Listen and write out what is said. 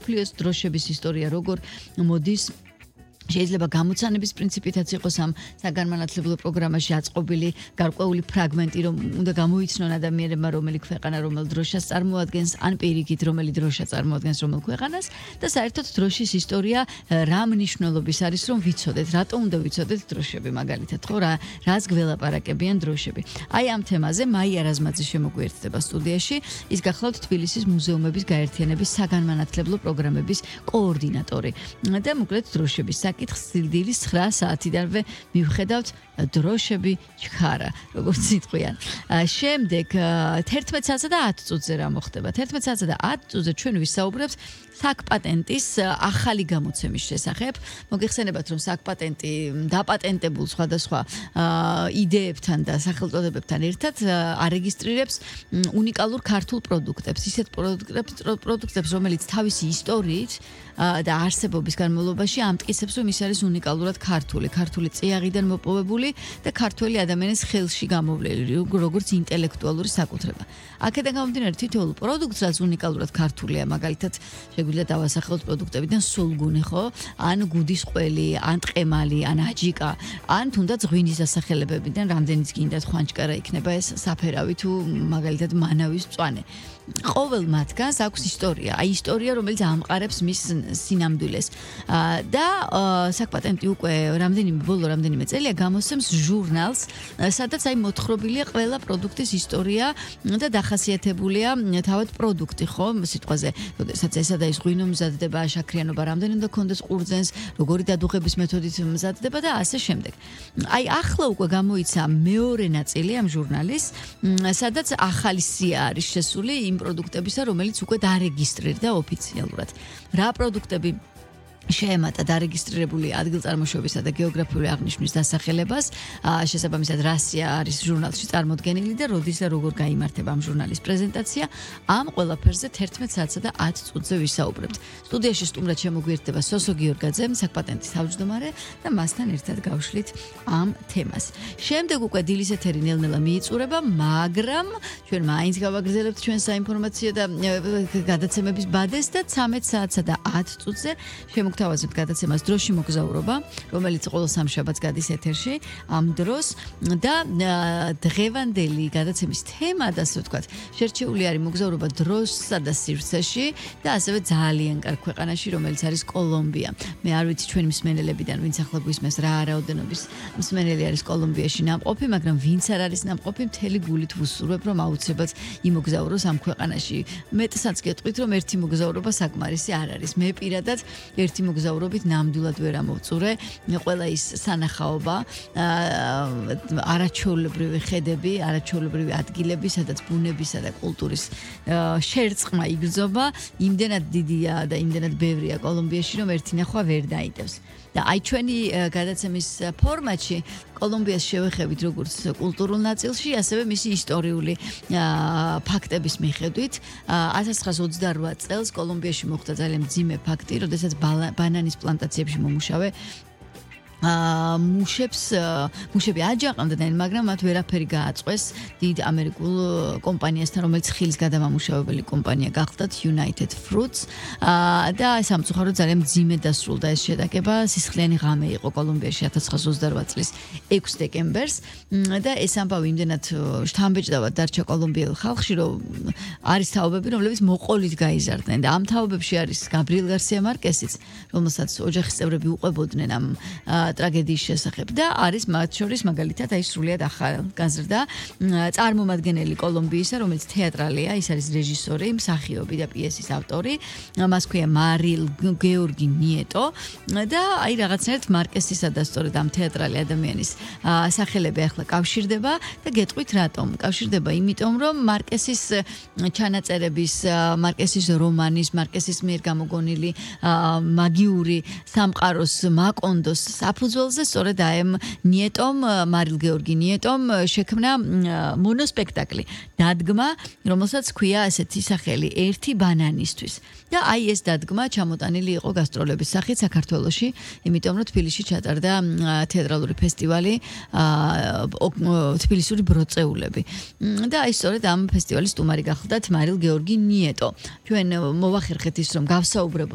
მსოფლიოს დროშების ისტორია როგორ მოდის შეიძლება გამოცანების პრინციპითაც იყოს ამ საგანმანათლებლო პროგრამაში აწყობილი გარკვეული ფრაგმენტი, რომ უნდა გამოიცნონ ადამიანებმა, რომელი ქვეყანა რომელ დროშას წარმოადგენს, ან პირიქით რომელი დროშა წარმოადგენს რომელ ქვეყანას და საერთოდ დროშის ისტორია რა მნიშვნელობის არის, რომ ვიცოდეთ, რატომ უნდა ვიცოდეთ დროშები მაგალითად, ხო, რას გველაპარაკებიან დროშები. აი ამ თემაზე მაია რაზმაძე შემოგვიერთდება სტუდიაში, ის გახლავთ თბილისის მუზეუმების გაერთიანების საგანმანათლებლო პროგრამების კოორდინატორი და მოკლედ დროშების დილის 9 საათიდანვე მივხედავთ დროშები ჩქარა, როგორც სიტყვიან. შემდეგ 11 საათსა და 10 წუთზე რა მოხდება? 11 საათსა და 10 წუთზე ჩვენ ვისაუბრებთ საკპატენტის ახალი გამოცემის შესახებ. მოგეხსენებათ, რომ საკპატენტი დაპატენტებულ სხვადასხვა იდეებთან და სახელწოდებებთან ერთად არეგისტრირებს უნიკალურ ქართულ პროდუქტებს, ისეთ პროდუქტებს, რომელიც თავისი ისტორიით და არსებობის განმავლობაში ამტკიცებს, რომ ის არის უნიკალურად ქართული წიაღიდან მოპოვებული და ქართველი ადამიანის ხელში გამოვლელი, როგორც ინტელექტუალური საკუთრება. აქედან გამომდინარე თითოეულ პროდუქტს, რაც უნიკალურად ქართულია, მაგალითად, შეგვიძლია დავასახელოთ პროდუქტებიდან სულგუნი, ხო? ან გუდის ყველი, ან ტყემალი, ან აჯიკა, ან თუნდაც ღვინის დასახელებებიდან რამდენიც გინდათ ხვანჭკარა იქნება ეს საფერავი თუ მაგალითად მანავის მწვანე. ყოველ მათგანს აქვს ისტორია, ისტორია, რომელიც ამყარებს მის სინამდვილეს. და საკპატენტი უკვე რამდენიმე წელია გამოსცემს ჟურნალს, სადაც მოთხრობილია ყველა პროდუქტის ისტორია და დახასიათებულია თავად პროდუქტი, ხო, სიტყვაზე, როდესაც ესა და ის ღვინო მზადდება, შაქრიანობა რამდენი უნდა კონდეს ყურძენს, როგორი დადუღების მეთოდით მზადდება და ასე შემდეგ. აი ახლა უკვე გამოიცა მეორე ნაწილი ამ ჟურნალის, სადაც ახალი სია არის შესული იმ პროდუქტებისა, რომელიც უკვე დარეგისტრირდა ოფიციალურად. რა პროდუქტები შეემატა დარეგისტრირებული ადგილწარმოშობისა და გეოგრაფიული აღნიშვნის დასახელებას, შესაბამისად რასია არის ჟურნალში წარმოდგენილი და როდის და როგორ გაიმართება ამ ჟურნალის პრეზენტაცია, ამ ყველაფერზე 11 საათსა და 10 წუთზე ვისაუბრებთ. სტუდიაში სტუმრად შემოგვიერთდება სოსო გიორგაძე, საკპატენტის თავმჯდომარე და მასთან ერთად გავშლით ამ თემას. შემდეგ უკვე დილის ეთერი ნელ-ნელა მიიწურება, მაგრამ ჩვენ მაინც გავაგრძელებთ ჩვენ საინფორმაციო და გადაცემების ბადეს და 13 საათსა და 10 წუთზე თავაზობთ გადაცემას დროში მოგზაურობა, რომელიც ყოველ სამშაბათს გადის ეთერში ამ დროს და დღევანდელი გადაცემის თემა და ასე ვთქვათ, შერჩეული არის მოგზაურობა დროსსა და სივრცეში და ასევე ძალიან კარგ ქვეყანაში, რომელიც არის კოლომბია. მე არ ვიცი ჩვენი მსმენელებიდან, ვინც ახლა გვისმენს რა რაოდენობის მსმენელი არის კოლომბიაში ნამყოფი, მაგრამ ვინც არ არის ნამყოფი, მთელი გულით ვუსურვებ, რომ აუცილებლად იმოგზაუროს ამ ქვეყანაში. მეტსაც გეტყვით, რომ ერთი მოგზაურობა საკმარისი არ არის. მე პირადად ერთი მოგზაურობით ნამდვილად ვერ ამოვწურე, ყველა ის სანახაობა, არაჩვეულებრივი ხედები, არაჩვეულებრივი ადგილები, სადაც ბუნებისა და კულტურის შერწყმა იგრძობა, იმდენად დიდია და იმდენად ბევრია კოლომბიაში, რომ ერთი ნახვა ვერ დაიდევს. და აი ჩვენი გადაცემის ფორმატში კოლომბიას შევეხებით როგორც კულტურულ ნაწილში, ასევე მისი ისტორიული ფაქტების მიხედვით. 1928 წელს კოლომბიაში მოხდა ძალიან მძიმე ფაქტი, როდესაც ბანანის პლანტაციებში მომუშავე მუშები აჯაყნდნენ, მაგრამ მათ ვერაფერი გააწყვეს დიდ ამერიკულ კომპანიასთან, რომელიც ხილის გადამამუშავებელი კომპანია გახლდათ United Fruits და სამწუხაროდ ძალიან მძიმედ დასრულდა ეს შეტაკება. სისხლიანი ღამე იყო კოლომბიაში 1928 წლის 6 დეკემბერს და ეს ამბავი იმდენად შთამბეჭდავად დარჩა კოლომბიელ ხალხში, რომ არის თაობები, რომლებიც მოყოლით გაიზარდნენ და ამ თაობებში არის გაბრიელ გარსია მარკესიც, რომელსაც ოჯახის წევრები უყვებოდნენ ამ ტრაგედიის შესახებ და არის მათ შორის მაგალითად აი სრულიად ახალგაზრდა წარმომადგენელი კოლომბიისა, რომელიც თეატრალია, ის არის რეჟისორი, მსახიობი და პიესის ავტორი, მას ქვია მარილ გეორგი ნიეტო და აი რაღაცნაირად მარკესისა და სწორედ ამ თეატრალი ადამიანის სახელები ახლა კავშირდება და გეტყვით რატომ? კავშირდება იმიტომ, რომ მარკესის ჩანაწერების, მარკესის რომანის, მარკესის მიერ გამოგონილი მაგიური სამყაროს მაკონდოს საფუძველზე სწორედ აემ ნიეტომ, მარილ გეორგი ნიეტომ შექმნა მონოსპექტაკლი, დადგმა, რომელსაც ქვია ასეთი სახელი, ერთი ბანანისთვის. და აი ეს დადგმა ჩამოტანილი იყო გასტროლების სახით საქართველოში, იმიტომ რომ თბილისში ჩატარდა თეატრალური ფესტივალი თბილისური ბროწეულები. და აი სწორედ ამ ფესტივალის სტუმარი გახლდათ მარილ გეორგი ნიეტო. ჩვენ მოვახერხეთ ის, რომ გავსაუბრებოთ